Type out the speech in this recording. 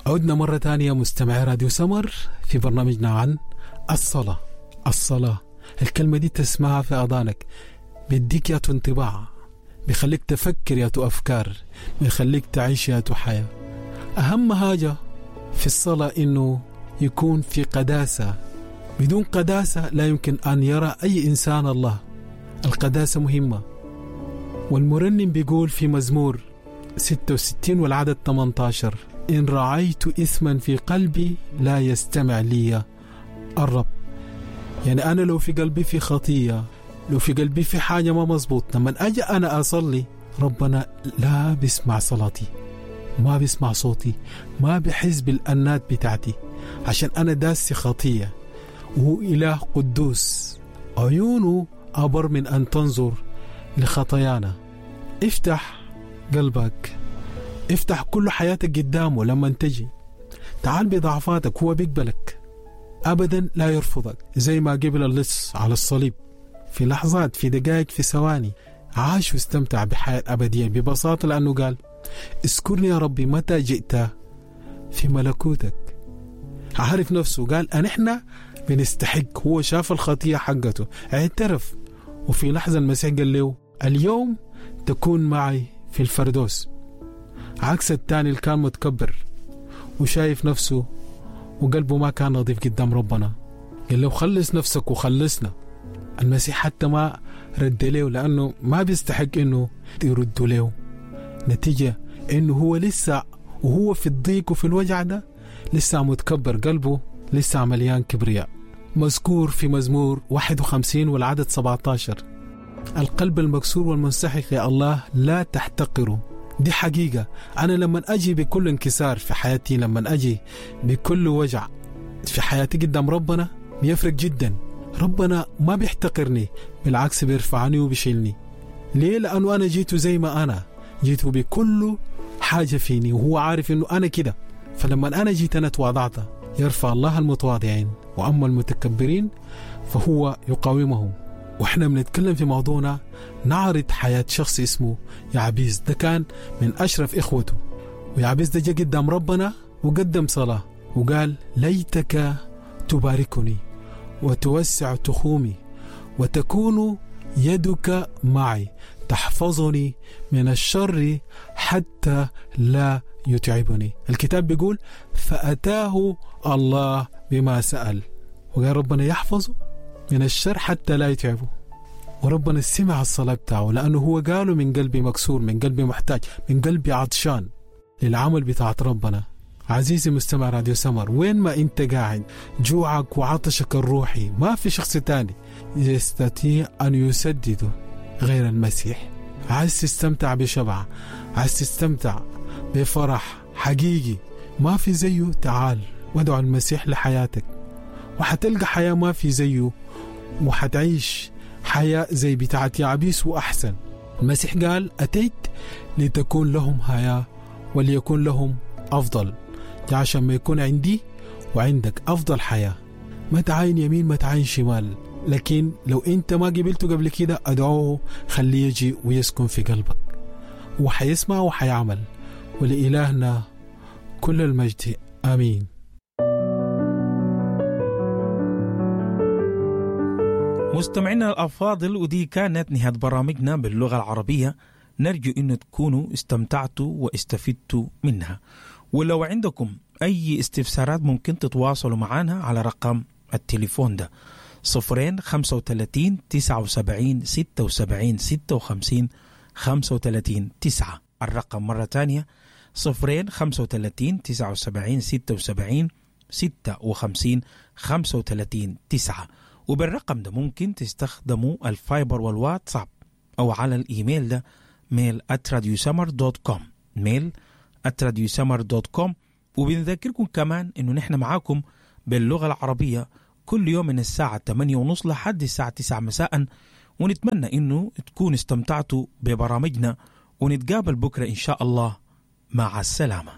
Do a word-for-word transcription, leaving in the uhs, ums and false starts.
عدنا مرة تانية مستمعي راديو سمر في برنامجنا عن الصلاة. الصلاة الكلمة دي تسمعها في أذانك بيديك ياتو انطباع، بيخليك تفكر ياتو أفكار، بيخليك تعيش ياتو حياة. أهم حاجة في الصلاة إنه يكون في قداسة. بدون قداسة لا يمكن أن يرى أي إنسان الله. القداسة مهمة. والمرنم بيقول في مزمور ستة وستين والعدد ثمانية عشر: إن رعيت إثما في قلبي لا يستمع لي الرب. يعني أنا لو في قلبي في خطية، لو في قلبي في حاجة ما مزبوط، لما أجي أنا أصلي ربنا لا بيسمع صلاتي، ما بيسمع صوتي، ما بيحس بالأنات بتاعتي، عشان أنا داسي خطية. وهو إله قدوس، عيونه أبر من أن تنظر لخطايانا. افتح قلبك، افتح كل حياتك قدامه. لما تجي تعال بضعفاتك، هو بيقبلك أبدا، لا يرفضك، زي ما قبل اللص على الصليب. في لحظات، في دقائق، في ثواني عاش واستمتع بحياة أبدية ببساطة، لأنه قال اذكرني يا ربي متى جئت في ملكوتك. عارف نفسه، قال أن احنا بنستحق. هو شاف الخطية حقته، اعترف، وفي لحظة المسيح قال له اليوم تكون معي في الفردوس. عكس الثاني اللي كان متكبر وشايف نفسه وقلبه ما كان نظيف قدام ربنا، قال له خلص نفسك وخلصنا. المسيح حتى ما رد له، لأنه ما بيستحق إنه يرد له. نتيجة إنه هو لسه وهو في الضيق وفي الوجع ده لسه متكبر، قلبه لسه مليان كبرياء. مذكور في مزمور واحد وخمسين والعدد سبعة عشر: القلب المكسور والمنسحق يا الله لا تحتقره. دي حقيقة. أنا لما أجي بكل انكسار في حياتي، لما أجي بكل وجع في حياتي قدام ربنا، بيفرق جدا. ربنا ما بيحتقرني، بالعكس بيرفعني وبيشيلني. ليه؟ لأنه أنا جيته زي ما أنا جيته، بكل حاجة فيني، وهو عارف أنه أنا كده. فلما أنا جيت أنا تواضعت، يرفع الله المتواضعين، وأما المتكبرين فهو يقاومهم. وإحنا بنتكلم في موضوعنا نعرض حياة شخص اسمه يعبيس. ده كان من أشرف إخوته، ويعبيس ده جاء قدام ربنا وقدم صلاة وقال ليتك تباركني وتوسع تخومي وتكون يدك معي تحفظني من الشر حتى لا يتعبني. الكتاب بيقول فأتاه الله بما سأل، وقال ربنا يحفظه من الشر حتى لا يتعبه. وربنا سمع الصلاة بتاعه، لأنه هو قاله من قلبي مكسور، من قلبي محتاج، من قلبي عطشان للعمل بتاعت ربنا. عزيزي مستمع راديو سمر، وين ما انت قاعد، جوعك وعطشك الروحي ما في شخص تاني يستطيع أن يسدده غير المسيح. عايز تستمتع بشبع، عايز تستمتع بفرح حقيقي ما في زيه، تعال وادعو المسيح لحياتك، وحتلقى حياة ما في زيه، وحتعيش حياة زي بتاعت يعبيس وأحسن. المسيح قال أتيت لتكون لهم حياة وليكون لهم أفضل. عشان ما يكون عندي وعندك أفضل حياة. ما تعاين يمين، ما تعاين شمال، لكن لو أنت ما قبلته قبل كده أدعوه، خليه يجي ويسكن في قلبك، وحيسمع وحيعمل. ولإلهنا كل المجد، آمين. مستمعينا الأفاضل، ودي كانت نهاية برامجنا باللغة العربية. نرجو أن تكونوا استمتعتوا واستفدتوا منها. ولو عندكم أي استفسارات ممكن تتواصلوا معنا على رقم التليفون ده صفرين خمسة وثلاثين تسعة وسبعين ستة وسبعين ستة وخمسين خمسة وثلاثين تسعة. الرقم مرة تانية صفرين خمسة وثلاثين تسعة وسبعين ستة وسبعين ستة وخمسين خمسة وثلاثين تسعة. وبالرقم ده ممكن تستخدموا الفايبر والواتساب أو على الإيميل ده mail at radiosummer dot com، mail at radiosummer dot com. وبنذكركم كمان إنه نحن معاكم باللغة العربية كل يوم من الساعة ثمانية ونص لحد الساعة تسعة مساء، ونتمنى إنه تكون استمتعتوا ببرامجنا، ونتقابل بكرة إن شاء الله. مع السلامة.